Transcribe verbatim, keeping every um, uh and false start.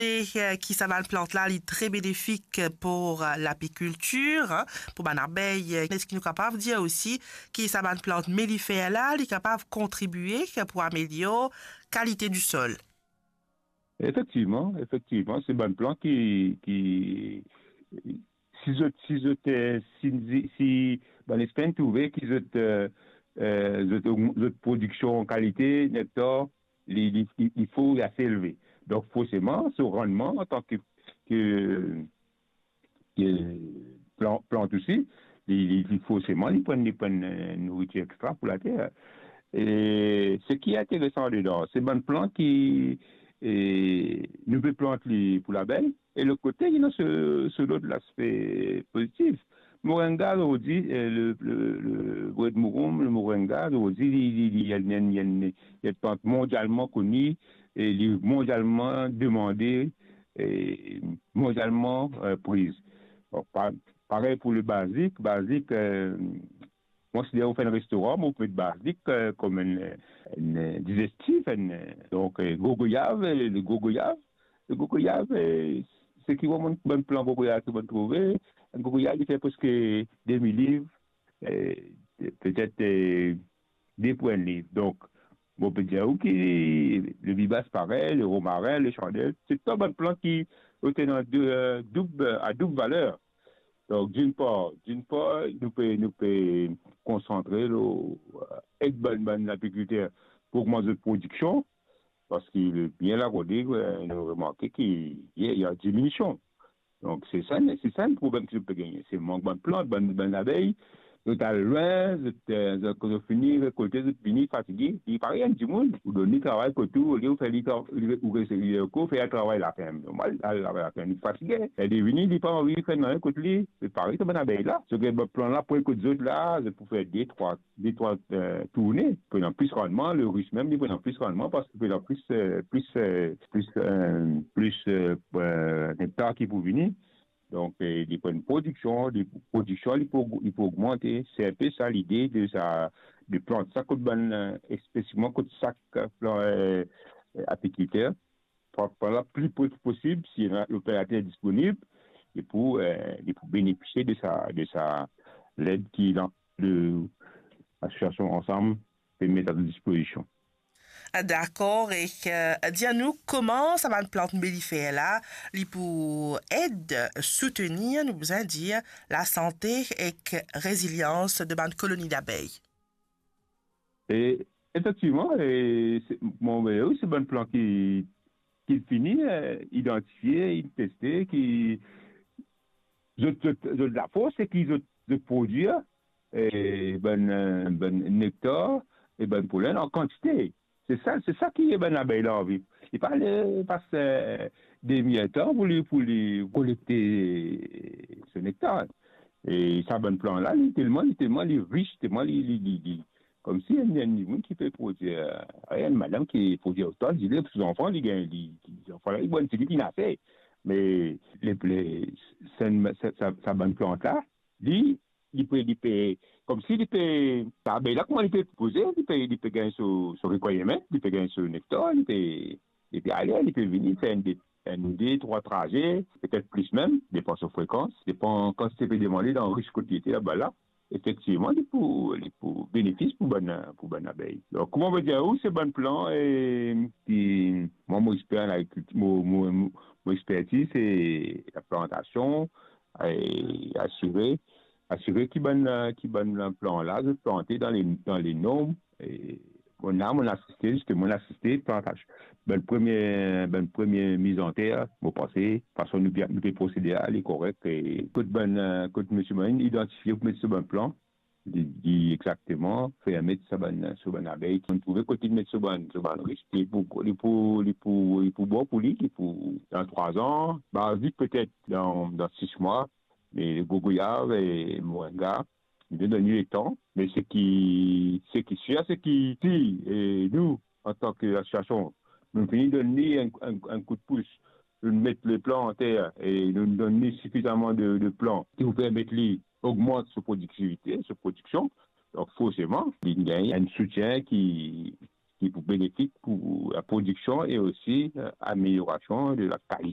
E, eh, ki sa bann plant la, li tre benefik pou, eh, lapikiltir, eh, pou bann abey. Eh, eski nou kapav dir osi ki sa bann plant melifer la, li kapav kontribie pou amelior kalite di sol? Efektivman, efektivman, se bann plant ki, ki, si zot, si zot, eh, si, si, si bann espes trouve ki zot, eh, eh, zot, zot prodiksion kalite nektar, li, li, li, li fo, li ase elve. Donk, forseman, so rannman antan ke, ke, ke plan-, plant osi, li, li, li forseman, li pran, li pran, eh, nouritir extra pou later. E seki interesan ladan, se bann plant ki, eh, nou pe plant li pou labey, e lot kote, ena so, so lot laspe pozitif. Moringa, zordi, eh, le, le, le bred mouroum, le moringa, zordi, li, li, li, li enn, li enn, li enn plant mondialman koni, e li mondialman demande, e mondialman, eh, priz. Bon, pa-, parey pou le bazik, bazik, eh, mwa, si ou fer enn restoran, ou met bazik, eh, kom enn, enn, eh, dizestif, enn, eh, donk, eh, gro goyav, eh, le gro goyav, le gro goyav, eh, seki bann, bann plan gro goyav ki bann trouve, enn gro goyav, li fer preske de mil liv, eh, petet, eh, de pou enn liv. Donk, mo pe dir ou ki le bibas parey, le romarin, le sandel, se tou bann plant ki, eh, ena de, eh, doub, a doub valer. Donk, dinn par, dinn par, nou pe, nou pe konsantre lor, eh, ed bann, bann lapikilter pou ogmant zot prodiksion, parski le bien la, kouma, eh, nou remarke ki, ye, ena diminision. Donk, se sa, se sa le problem ki zot pe gagne. Se mank bann plant, bann, bann labey, zot al lwin, zot, eh, zot, kan zot fini rekolte, zot vini fatige. Li pa gagn dimoun, ou donn li travay kot ou, olie ou fer li tra-, ou, ou, ou fer li travay laferm. Normal, al travay laferm, li fatige. E li vini, li pa anvi fer nanye kot li. Se parey sa bann labey la. So, bann plant la, pou kot zot la, zot pou fer de, trwa, de, trwa, eh, tourne. Pou ena plis rannman, le ris mem, li pou ena plis rannman, parski pou ena plis, eh, plis, eh, plis, eh, plis, eh, eh, nektar ki pou vini. Donk, eh, li pou ena prodiksion, li, prodiksion, li pou, li pou ogmante. Se enpe sa lide de sa, de plant sa kot bann, eh, espesifiman kot sak, eh, plan, eh, eh, apikilter. Pran, pran la pli pre ki posib, si ena loperater disponib, li pou, eh, li pou benefisie de sa, de sa led ki la, de lasosiasion Ansam pe met a dispozision. Dakor, e, eh, dir nou kouma sa bann plant melifer la, li pou ed soutenir, nou bizin dir, lasante ek rezilians de bann koloni labey. E efektivman, e se, mo, wi, se bann plant ki, ki fini, eh, idantifie, teste, ki zot, zot, zot lafors, se ki zot, zot prodwir, eh, bann, eh, bann nektar e bann polen an kantite. Se sa, se sa ki bann labey la anvi. Li pa le pas, eh, demi-er tan pou li, pou li kolekte so nektar. E sa bann plant la, li telman, li telman, li ris, telman li, li, li, li, koumsi enn, enn dimoun ki pe prodwir, eh, enn madam ki prodwir otan, li, li, zanfan, li gagn, li, li, zanfan la, li, bon, se li ki nase. Me le, le, sa, sa, sa, sa bann plant la, li, li pe, li pe, koumsi li pe, labey la, kouma li pe poze, li pe, li pe gagn so, so requirement, li pe gagn so nektar, li pe, li pe ale, li pe vini, fer enn de, enn de, trwa traze, petet plis mem, depan so frekans, depan kantite pe demande dan ris kot li ete laba la. Efektivman, li pou, li pou benefis pou bann, pou bann labey. Donk, kouma mo dir ou, se bann plant, eh, ki, mwa, mo exper an agrikilti, mo, mo, mo, mo expertiz, se laplantasion, e asire, asire ki bann, ki bann plant la, zot plante dan le, dan le norm, e mo la, mo asiste, zisteman, mo asiste plantasion. Bann premie, bann premie miz an ter, mo panse, fason nou, nou pe prosede la, li korek, e kot bann, kot misie Marine idantifie pou met so bann plant, li, li exakteman fer met sa bann, so bann labey, ki trouve kot li met so bann, so bann ris, li pou, li pou, li pou, li pou bon pou li, li pou, dan trwa an, bazik petet dan, dan sis mwa, me gro goyav e moringa, li donn li letan, me seki, seki sir, seki si, e nou, antan ke asosiasion, nou fini donn li enn, enn, enn kout pous, nou met le plan an ter e nou donn li sifizaman de, de plan ki pou permet li ogmant so prodiktivite, so prodiksion. Donk, forseman, li gagn enn soutien ki, ki pou benefik pou laprodiksion e osi, eh, ameliorasion de lakalite